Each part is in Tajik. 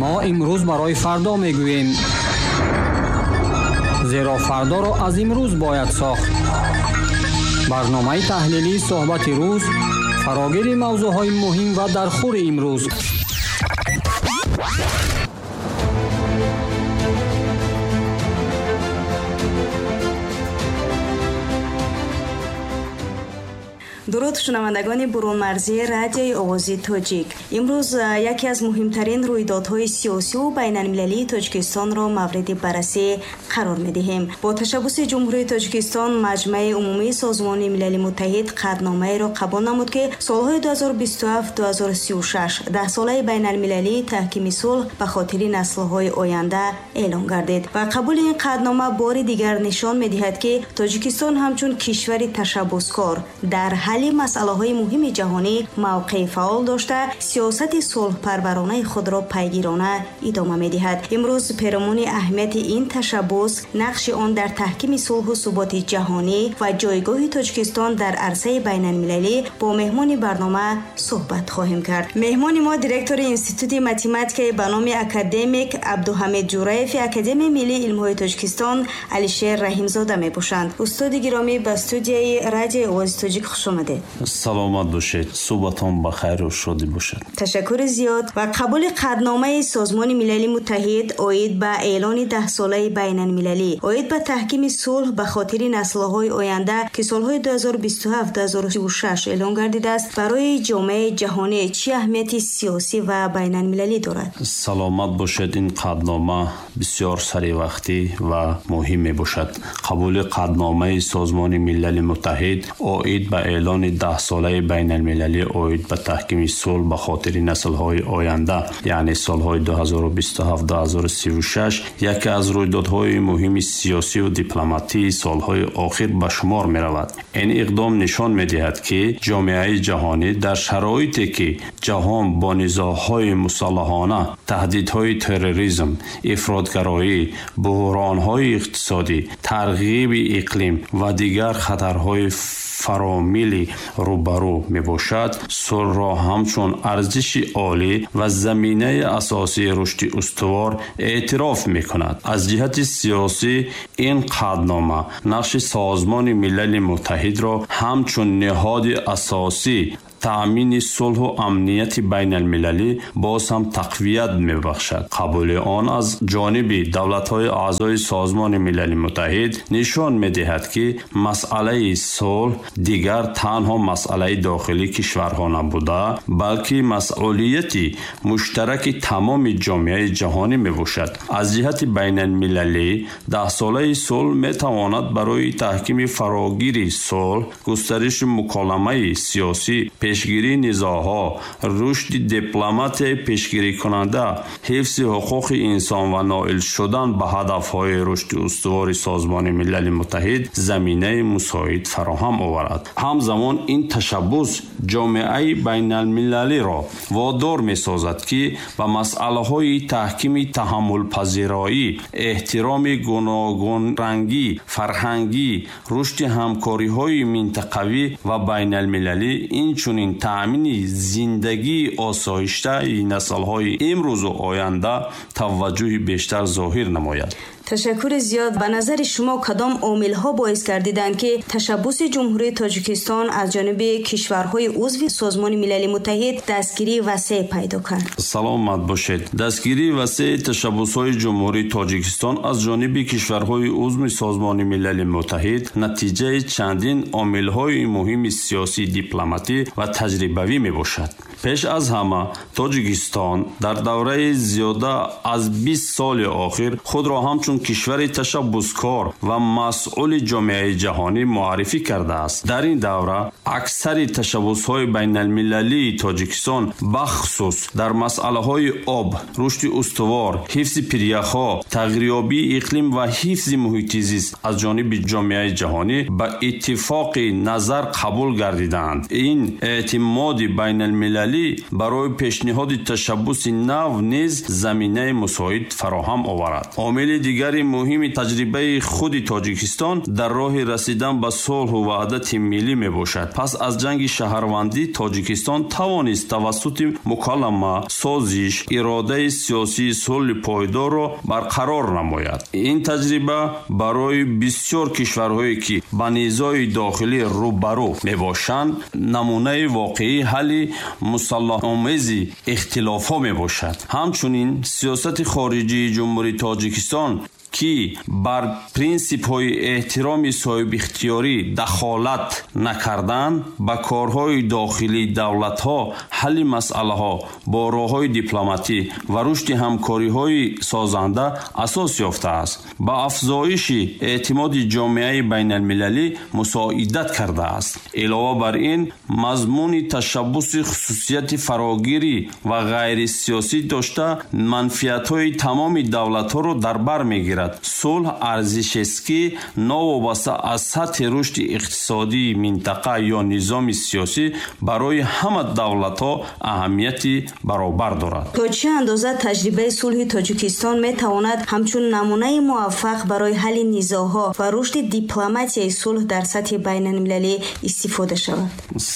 Мо имрӯз барои фардо мегӯем, зеро фардоро аз имрӯз бояд сохт. Барномаи таҳлилии суҳбати рӯз, фарогири мавзӯъҳои муҳим ва дархӯри имрӯз. Дуруд шунавандагони бурунмарзии радиои овози тоҷик. Имрӯз яке аз муҳимтарин рӯйдодҳои сиёсиву байналмилалии Тоҷикистонро мавриди баррасӣ қарор медиҳем. Бо ташаббуси Ҷумҳурии Тоҷикистон Маҷмаи умумии Созмони Милали Муттаҳид қатъномаеро қабул намуд, ки солҳои 2027-2036 даҳсолаи байналмилалии таҳкими сулҳ ба хотири наслҳои оянда эълон гардид. Ва қабули ин қатънома бори дигар нишон медиҳад, ки Тоҷикистон ҳамчун кишвари ташаббускор дар ҳалли масъалаҳои муҳими ҷаҳонӣ мавқеи фаъол дошта, сиёсати сулҳпарваронаи худро пайгирона идома медиҳад. Имрӯз перомуни аҳамияти ин ташаббус, нақши он дар таҳкими сулҳу суботи ҷаҳонӣ ва ҷойгоҳи Тоҷикистон дар арсаи байналмилалӣ бо меҳмони барнома суҳбат хоҳем кард. Меҳмони мо директори Институти математикаи ба номи академик Абдуҳамид Ҷураеви Академияи миллии илмҳои Тоҷикистон Алишер Раҳимзода мебошанд. Устоди гиромӣ, ба студияи радиои овози тоҷик хуш омадед. Саломат бошед, суҳбатон ба хайру шодӣ бошад. Ташаккури зиёд. Ва қабули қатъномаи Созмони Милали Муттаҳид оид ба эълони даҳсолаи байналмилалӣ оид ба таҳкими сулҳ ба хотири наслҳои оянда, ки солҳои 2027-2036 эълон гардидааст, барои ҷомеаи ҷаҳонӣ чӣ аҳамияти сиёсӣ ва байналмилалӣ дорад? Саломат бошед. Ин қатънома бисёр саривақтӣ ва муҳим мебошад. Қабули қатъномаи Созмони Милали Муттаҳид оид ба эълони даҳсолаи байналмилалӣ оид ба таҳкими сулҳ ба хотири наслҳои оянда, яъне солҳои 2027-2036, яке аз рӯйдодҳои муҳими сиёсиву дипломатии солҳои охир ба шумор меравад. Ин иқдом нишон медиҳад, ки ҷомеаи ҷаҳонӣ дар шароите, ки ҷаҳон бо низоъҳои мусаллаҳона, таҳдидҳои терроризм, ифротгароӣ, буҳронҳои иқтисодӣ, тарғиби иқлим ва дигар хатарҳои фаромилӣ рӯбарӯ мебошад, сулҳро ҳамчун арзиши олӣ ва заминаи асосии рушди устувор эътироф мекунад. Аз ҷиҳати сиёсӣ ин қатънома нақши Созмони Милали Муттаҳидро ҳамчун ниҳоди асосӣ таъмини сулҳу амнияти байналмилалӣ боз ҳам тақвият мебахшад. Қабули он аз ҷониби давлатҳои аъзои Созмони Милали Муттаҳид нишон медиҳад, ки масъалаи сулҳ дигар танҳо масъалаи дохилии кишварҳо набуда, балки масъулияти муштараки тамоми ҷомеаи ҷаҳонӣ мебошад. Аз ҷиҳати байналмилалӣ даҳсолаи сулҳ метавонад барои таҳкими фарогири сулҳ, густариши муколамаи сиёсӣ, пешгирии низоъҳо, рушди дипломатияи пешгирикунанда, ҳифзи ҳуқуқи инсон ва ноил шудан ба ҳадафҳои рушди устувори Созмони Милали Муттаҳид заминаи мусоид фароҳам оварад. Ҳамзамон ин ташаббус ҷомеаи байналмилалиро водор месозад, ки ба масъалаҳои таҳкими таҳаммулпазироӣ, эҳтироми гуногунрангӣ, фарҳангӣ, рушди ҳамкориҳои минтақавӣ ва байналмилалӣ, инчунин таъмини зиндагии осоиштаи наслҳои имрӯзу оянда таваҷҷӯҳи бештар зоҳир намояд. Ташаккури зиёд. Ба назари шумо кадом омилҳо боис гардиданд, ки ташаббуси Ҷумҳурии Тоҷикистон аз ҷониби кишварҳои узви Созмони Милали Муттаҳид дастгирии васеъ пайдо кард? Саломат бошед. Дастгирии васеи ташаббусҳои Ҷумҳурии Тоҷикистон аз ҷониби кишварҳои узви Созмони Милали Муттаҳид натиҷаи чандин омилҳои муҳими сиёсӣ, дипломатӣ ва таҷрибавӣ мебошад. Пеш аз ҳама Тоҷикистон дар давраи зиёда аз 20 соли охир худро ҳамчун кишвари ташаббускор ва масъули ҷомеаи ҷаҳонӣ муаррифӣ кардааст. Дар ин давра аксари ташаббусҳои байналмилалии Тоҷикистон, бахусус дар масъалаҳои об, рушди устувор, ҳифзи пиряхҳо, тағйирёбии иқлим ва ҳифзи муҳити зист аз ҷониби ҷомеаи ҷаҳонӣ ба иттифоқи назар қабул гардидаанд. Ин эътимоди байналмилалӣ Байналмилалӣ барои пешниҳоди ташаббуси нав низ заминаи мусоид фароҳам оварад. Омили дигари муҳими таҷрибаи худи Тоҷикистон дар роҳи расидан ба сулҳу ваҳдати миллӣ мебошад. Пас аз ҷанги шаҳрвандӣ Тоҷикистон тавонист тавассути муколама, созиш, иродаи сиёсии сулҳи пойдорро барқарор намояд. Ин таҷриба барои бисёр кишварҳое, ки ба низои дохилӣ рӯбарӯ мебошанд, намунаи воқеии ҳалли мусаллаҳомези ихтилофҳо мебошад. Ҳамчунин сиёсати хориҷии Ҷумҳурии Тоҷикистон, ки бар принсипҳои эҳтироми соҳибихтиёрӣ, дахолат накардан ба корҳои дохилии давлатҳо, ҳалли масъалаҳо бо роҳҳои дипломатӣ ва рушди ҳамкориҳои созанда асос ёфтааст, ба афзоиши эътимоди ҷомеаи байналмилалӣ мусоидат кардааст. Илова бар ин, мазмуни ташаббуси хусусияти фарогирӣ ва ғайрисиёсӣ дошта, манфиатҳои тамоми давлатҳоро дар бар мегирад. Сулҳ арзишест, ки новобаста аз сатҳи рушди иқтисодии минтақа ё низоми сиёсӣ барои ҳама давлатҳо аҳамияти баробар дорад. То чӣ андоза таҷрибаи сулҳи Тоҷикистон метавонад ҳамчун намунаи муваффақ барои ҳалли низоъҳо ва рушди дипломатияи сулҳ дар сатҳи байналмилалӣ истифода шавад?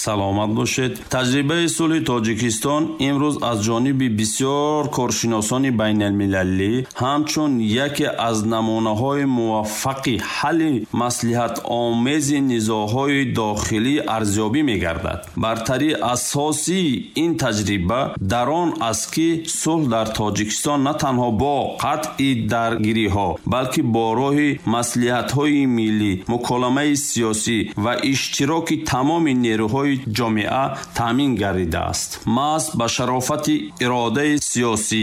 Саломат бошед. Таҷрибаи сулҳи Тоҷикистон имрӯз аз ҷониби бисёр коршиносони байналмилалӣ ҳамчун яке аз намунаҳои муваффақи ҳалли маслиҳатомези низоъҳои дохилӣ арзёбӣ мегардад. Бартарии асосии ин таҷриба дар он аст, ки сулҳ дар Тоҷикистон на танҳо бо қатъи даргириҳо, балки бо роҳи маслиҳатҳои миллӣ, муколамаи сиёсӣ ва иштироки тамоми нерӯҳои ҷомеа таъмин гардидааст. Маҳз ба шарофати иродаи сиёсӣ,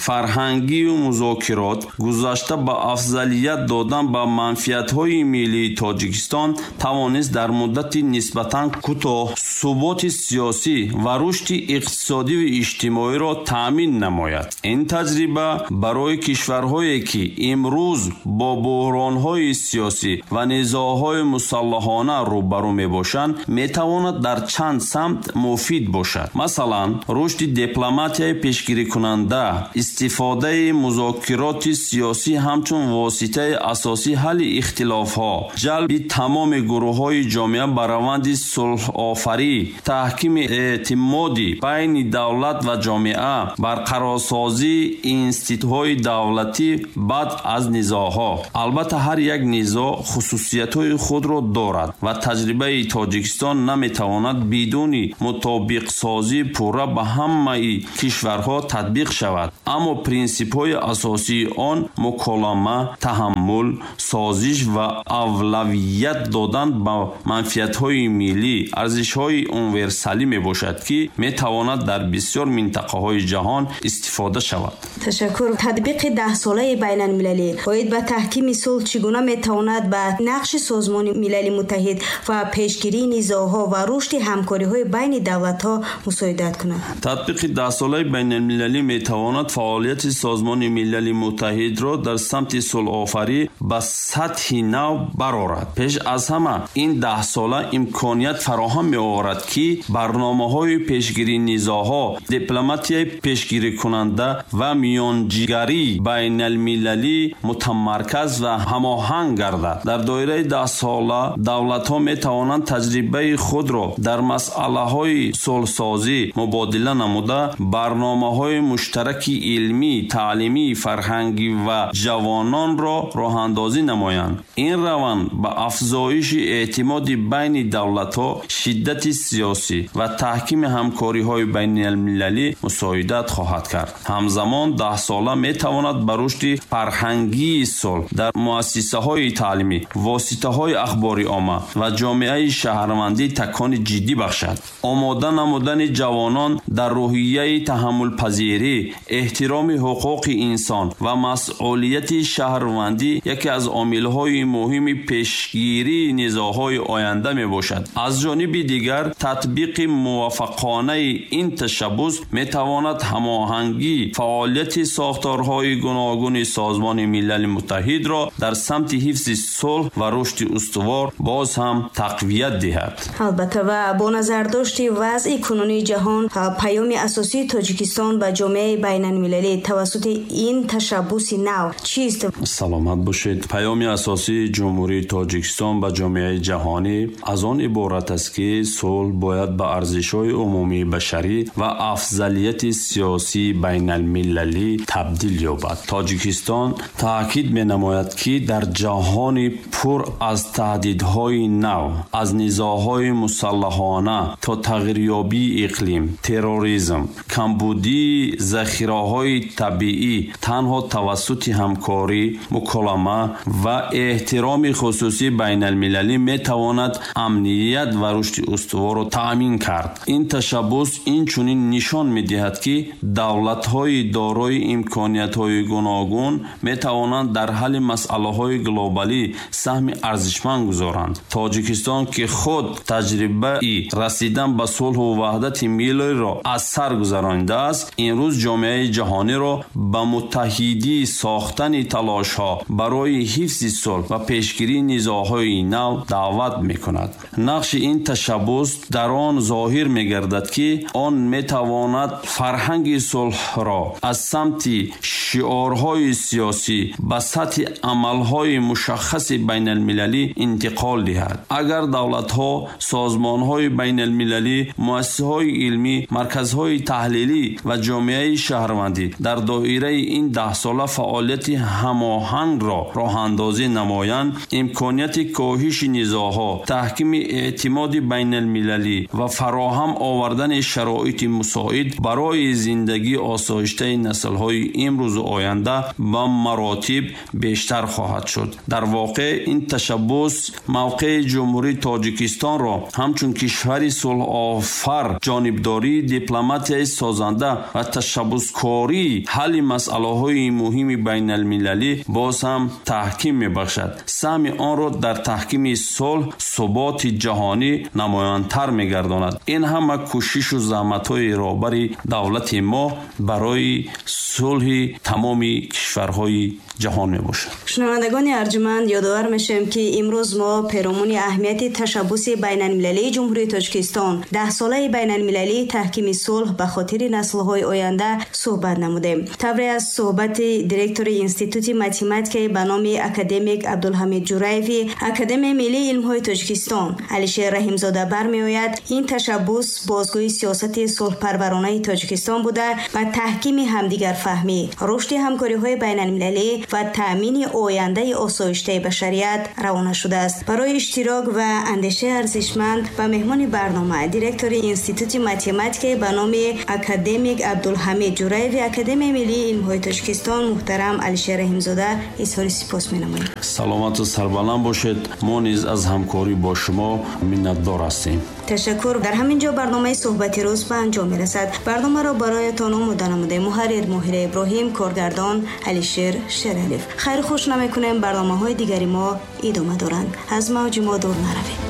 фарҳангию музокирот гузашта ба афзалият додан ба манфиатҳои миллии Тоҷикистон тавонист дар муддати нисбатан кӯтоҳ суботи сиёсӣ ва рушди иқтисодиву иҷтимоиро таъмин намояд. Ин таҷриба барои кишварҳое, ки имрӯз бо буҳронҳои сиёсӣ ва низоъҳои мусаллаҳона рӯбарӯ мебошанд, метавонад дар чанд самт муфид бошад. Масалан, рушди дипломатияи пешгирикунанда, истифодаи музокироти сиёсӣ ҳамчун воситаи асосии ҳалли ихтилофҳо, ҷалби тамоми гурӯҳҳои ҷомеа ба раванди сулҳофарӣ, таҳкими эътимоди байни давлат ва ҷомеа, барқарорсозии институтҳои давлатӣ баъд аз низоъҳо. Албатта, ҳар як низоъ хусусиятҳои худро дорад ва таҷрибаи Тоҷикистон наметавонад бидуни мутобиқсозии пурра ба ҳамаи кишварҳо татбиқ шавад. Аммо принсипҳои асосии он муколама, таҳаммул, созиш ва авлавият додан ба манфиатҳои миллӣ, арзишҳои универсалӣ мебошад, ки метавонад дар бисёр минтақаҳои ҷаҳон истифода шавад. Ташаккур. Татбиқи 10-солаи байналмилалӣ оид ба таҳкими сулҳ чӣ гуна метавонад ба нақши Созмони Милали Муттаҳид ва пешгирии низоъҳо ва рушди ҳамкориҳои байни давлатҳо мусоидат кунад? Татбиқи 10-солаи байналмилалӣ метавонад фаъолияти Созмони Милали Муттаҳидро дар самти сулҳофарӣ ба сатҳи нав барорад. Пеш аз ҳама ин 10-сола имконият фароҳам меоварад, ки барномаҳои пешгирии низоъҳо, дипломатияи пешгирикунанда ва миёнҷигарии байналмилалӣ мутамарказ ва ҳамоҳанг гардад. Дар доираи 10-сола давлатҳо метавонанд таҷрибаи худро дар масъалаҳои сулҳсозӣ мубодила намуда, барномаҳои муштараки илмӣ, таълимӣ, фарҳангӣ ва ҷавононро роҳандозӣ намоянд. Ин раванд ба афзоиши эътимоди байни давлатҳо, шиддати сиёсӣ ва таҳкими ҳамкориҳои байналмилалӣ мусоидат хоҳад кард. Ҳамзамон 10-сола метавонад ба рушди фарҳангии сулҳ дар муассисаҳои таълимӣ, воситаҳои ахбори омма ва ҷомеаи шаҳрвандӣ такони ҷиддӣ бахшад. Омода намудани ҷавонон дар рӯҳияи таҳаммулпазирӣ, эҳтироми ҳуқуқи инсон ва масъулияти Фаъолияти шаҳрвандӣ яке аз омилҳои муҳими пешгирии низоъҳои оянда мебошад. Аз ҷониби дигар, татбиқи муваффақонаи ин ташаббус метавонад ҳамоҳангии фаъолияти сохторҳои гуногуни Созмони Милали Муттаҳидро дар самти ҳифзи сулҳ ва рушди устувор боз ҳам тақвият диҳад. Албатта, ва бо назардошти вазъи кунунии ҷаҳон, паёми асосии Тоҷикистон ба ҷомеаи байналмилалӣ тавассути ин ташаббуси нав чист? Саломат бошед. Паёми асосии Ҷумҳурии Тоҷикистон ба ҷомеаи ҷаҳонӣ аз он иборат аст, ки сулҳ бояд ба арзишҳои умумии башарӣ ва афзалияти сиёсии байналмилалӣ табдил ёбад. Тоҷикистон таъкид менамояд, ки дар ҷаҳони пур аз таҳдидҳои нав, аз низоъҳои мусаллаҳона то тағйирёбии иқлим, терроризм, камбудии захираҳои табиӣ танҳо тавассути ҳамкорӣ, муколама ва эҳтироми хусусии байналмилалӣ метавонад амният ва рушди устуворро таъмин кард. Ин ташаббус инчунин нишон медиҳад, ки давлатҳои дорои имкониятҳои гуногун метавонанд дар ҳалли масъалаҳои глобалӣ саҳми арзишманд гузоранд. Тоҷикистон, ки худ таҷрибаи расидан ба сулҳу ваҳдати миллиро аз сар гузаронидааст, имрӯз ҷомеаи ҷаҳониро ба муттаҳидӣ сохтани талошҳо барои ҳифзи сулҳ ва пешгирии низоъҳои нав даъват мекунад. Нақши ин ташаббус дар он зоҳир мегардад, ки он метавонад фарҳанги сулҳро аз самти шиорҳои сиёсӣ ба сатҳи амалҳои мушаххаси байналмилалӣ интиқол диҳад. Агар давлатҳо, созмонҳои байналмилалӣ, муассисаҳои илмӣ, марказҳои таҳлилӣ ва ҷомеаи шаҳрвандӣ дар доираи ин 10сола фаъолияти ҳамоҳангро роҳандозӣ намоянд, имконияти коҳиши низоъҳо, таҳкими эътимоди байналмилалӣ ва фароҳам овардани шароити мусоид барои зиндагии осоиштаи наслҳои имрӯзу оянда ба маротиб бештар хоҳад шуд. Дар воқеъ, ин ташаббус мавқеи Ҷумҳурии Тоҷикистонро ҳамчун кишвари сулҳофар, ҷонибдории дипломатияи созанда ва ташаббускории ҳалли масъалаҳои муҳими байналмилалӣ боз ҳам таҳким мебахшад. Саҳми онро дар таҳкими сулҳ, суботи ҷаҳонӣ намоёнтар мегардонад. Ин ҳама кӯшишу заҳматҳои роҳбари давлати мо барои сулҳи тамоми кишварҳои ҷаҳон мебошад. Шунавандагони арҷманд, ёдовар мешавем, ки имрӯз мо перомуни аҳамияти ташаббуси байналмилалии Ҷумҳурии Тоҷикистон, 10солаи байналмилалии таҳкими сулҳ ба хотири наслҳои оянда суҳбат намудем. Тавре аз суҳбати директори Институти математикаи ба номи академик Абдулҳамид Ҷураеви Академияи миллии илмҳои Тоҷикистон Алишер Раҳимзода бармеояд, ин ташаббус бозгӯи сиёсати сулҳпарваронаи Тоҷикистон буда, ба таҳкими ҳамдигарфаҳмӣ, рушди ҳамкориҳои байналмилалӣ ва таъмини ояндаи осоиштаи башарият равона шудааст. Барои иштирок ва андешаи арзишманд ба меҳмони барнома, директори Институти математикаи ба номи академик Абдулҳамид Ҷураеви Академияи миллии илмҳои Тоҷикистон муҳтарам Алишер Раҳимзода изҳори сипос менамоем. Саломату сарбаланд бошед. Мо низ аз ҳамкорӣ бо шумо миннатдор ҳастем. Ташаккур. Дар ҳамин ҷо барномаи суҳбати рӯз ба анҷом мерасад. Барномаро бароятон омода намудаем муҳаррир Моҳира Иброҳим, коргардон Алишер Шералиев. Хайру хуш намекунем, барномаҳои дигари мо идома доранд. Аз мавҷи мо дур наравед.